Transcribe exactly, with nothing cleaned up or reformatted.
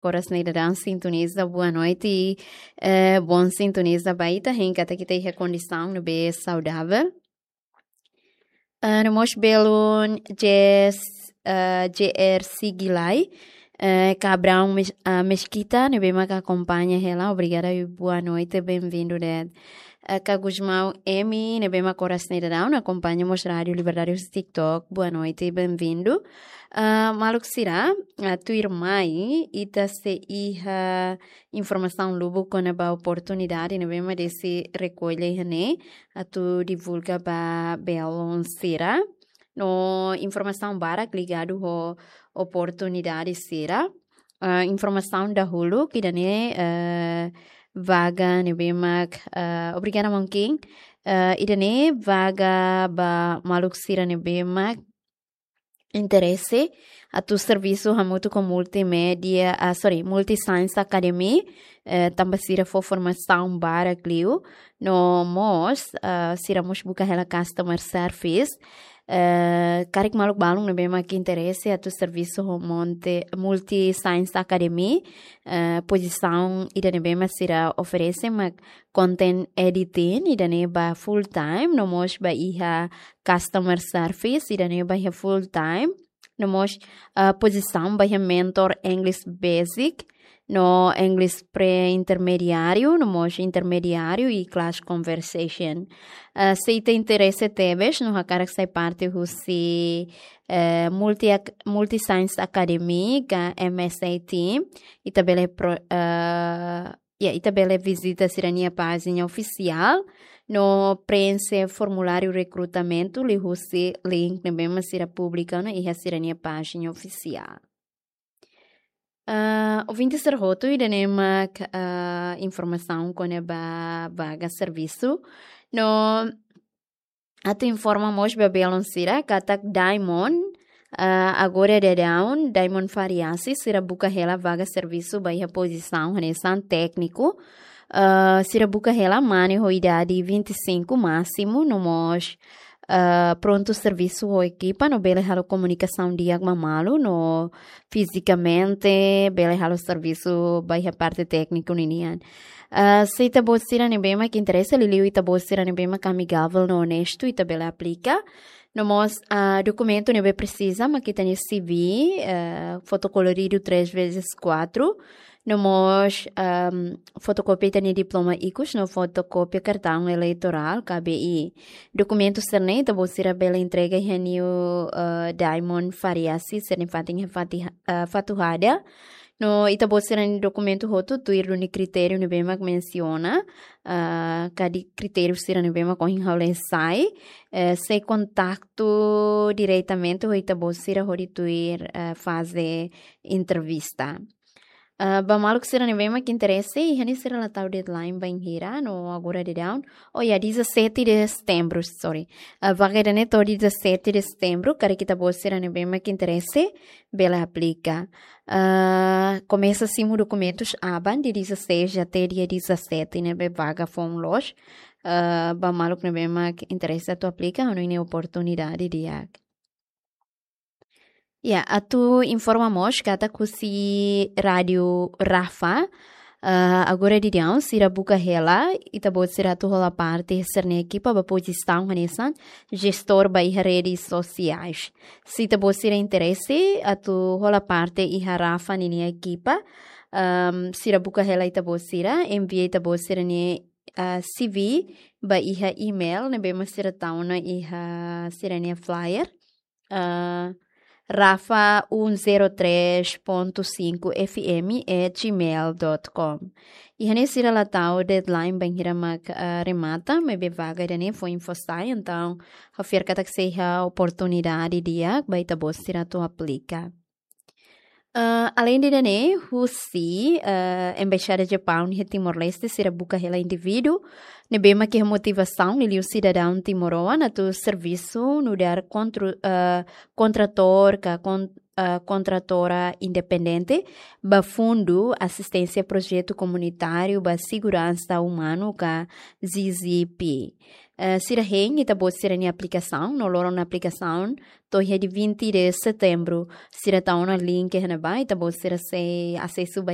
koras ne'e daudaun sintoniza, boa noite, eh, bom sintoniza ba ita, hein katak ita iha kondisaun ne'ebé saudavel. Ah, no mós belun J S, ah, J R Sigilai, eh, Cabrão Mes-, ah, Mesquita, ne'ebé mak akompaña hela, obrigada e boa noite, bem-vindo, né? Eh, Ka Gusmão M, ne'ebé mak koras ne'e daudaun akompaña mós Rádio Liberdade husi TikTok, boa noite, bem-vindo. Ah, maluk sira, ah, tuirmai, ita sei iha informasaun lubuk kona-ba oportunidade ne'ebé mak Desi rekolla iha ne'e, atu divulga ba belun sira. No informasaun barak ligadu ho oportunidade sira. Ah, informasaun dahuluk ida-ne'e, eh, vaga ne'ebé mak, eh, obrigada, Mongking. Eh, ida-ne'e vaga ba maluk sira ne'ebé mak interese atu servisu hamutuk ho multimédia, ah, sorry, Multi Science Academy, eh, tanba sira fó formasaun barak liu, no mós, ah, sira mós buka hela customer service. Eh, karik maluk balun ne'ebé mak interese atu servisu ho Monte, Multi Science Academy, eh, pozisaun ida ne'ebé mak sira oferese mak content editing, ida-ne'e ba full time, no mós ba iha customer service, ida-ne'e ba iha full time, no mós, ah, pozisaun ba iha mentor English basic, no English pre-intermediáriu, no mós intermediáriu i class conversation. Ah, se ita interese tebes, no hakarak sai parte husi, eh, Multi Ac-, Multi Science Academy ka M S A team, ita bele pro-, eh, ya, ita bele vizita sira-nia pájina ofisiál, no preenxe formuláriu rekrutamentu liuhusi link ne'ebé mak sira publika ona iha sira-nia pájina ofisiál. Ah, ouvinte sira hotu, ida-ne'e mak, ah, informasaun kona-ba vaga servisu. No atu informa mós ba belun sira katak Diamond, ah, agora daudaun, Diamond Fariasi, sira buka hela vaga servisu ba iha pozisaun hanesan tékniku. Ah, sira buka hela mane ho idade vinte e cinco másimu, no mós, ah, prontu servisu ho ekipa, no bele halo komunikasaun di'ak ba malu, no fizikamente bele halo servisu ba iha parte tékniku ninian. Ah, se ita-boot sira ne'ebé mak interese, liuliu ita-boot sira ne'ebé mak amigável no onestu, ita bele aplika. No mós, ah, dokumentu ne'ebé presiza mak ita-nia C V, eh, foto koloridu três vezes quatro, no mós, ahm, fotokópia ita-nia diploma ikus, no fotokópia kartaun eleitorál, K B I. Dokumentu sira-ne'e ita-boot sira bele entrega iha niu, eh, Diamond Fariasi, sira-nia fatin iha Fati-, eh, Fatuhada. No ita-boot sira-nia dokumentu hotu tuir duni kritériu ne'ebé mak mensiona, ah, ka di kritériu sira ne'ebé mak ohin ha'u lee sai, eh, sei kontaktu diretamente ho ita-boot sira hodi tuir, eh, faze entrevista. Ah, ba maluk sira ne'ebé mak interese, iha ne'e sira la tau deadline bainhira, no agora daudaun. Oh ya, dezassete de setembro, sorry. Ah, vaga ida-ne'e to'o dezassete de setembro, karik ita-boot sira ne'ebé mak interese, bele aplika. Ah, komesa simu dokumentus aban dia dezasseis até dia dezassete, ne'ebé vaga foun loos. Ah, ba maluk ne'ebé mak interese atu aplika, hanoin ne'e oportunidade di'ak. Ya, atu informa mós katak husi Rádio Rafa, ah, agora daudaun sira buka hela, ita-boot sira atu hola parte sira-nia ekipa ba pozisaun hanesan jestór ba iha redes sosiais. Se ita-boot sira interese atu hola parte iha Rafa ninia ekipa, ahm, sira buka hela ita-boot sira, envia ita-boot sira-nia, ah, C V ba iha email ne'ebé mak sira tau ona iha sira-nia flyer. Ah, rafa um zero três ponto cinco F M at gmail dot com. Iha ne'e sira la tau deadline bainhira mak, ah, remata, maibé vaga ida-ne'e foin fó sai, entaun ha'u fiar katak sei iha oportunidade di'ak ba ita-boot sira atu aplika. Ah, alende ida-ne'e, husi, ah, Embaixada Japaun iha Timor-Leste, sira buka hela indivíduu ne'ebé mak iha motivasaun liuliu sidadaun timoroan atu servisu nu'udar kontru-, ah, kontratór ka kon-, ah, kontratora independente ba Fundu Asisténsia Projetu Komunitáriu ba Seguransa Umanu ka Z Z P. Ah, sira hein ita-boot sira-nia aplikasaun, no loron aplikasaun to'o iha dia vinte de setembro. Sira tau ona link iha ne'ebá, ita-boot sira sei asesu ba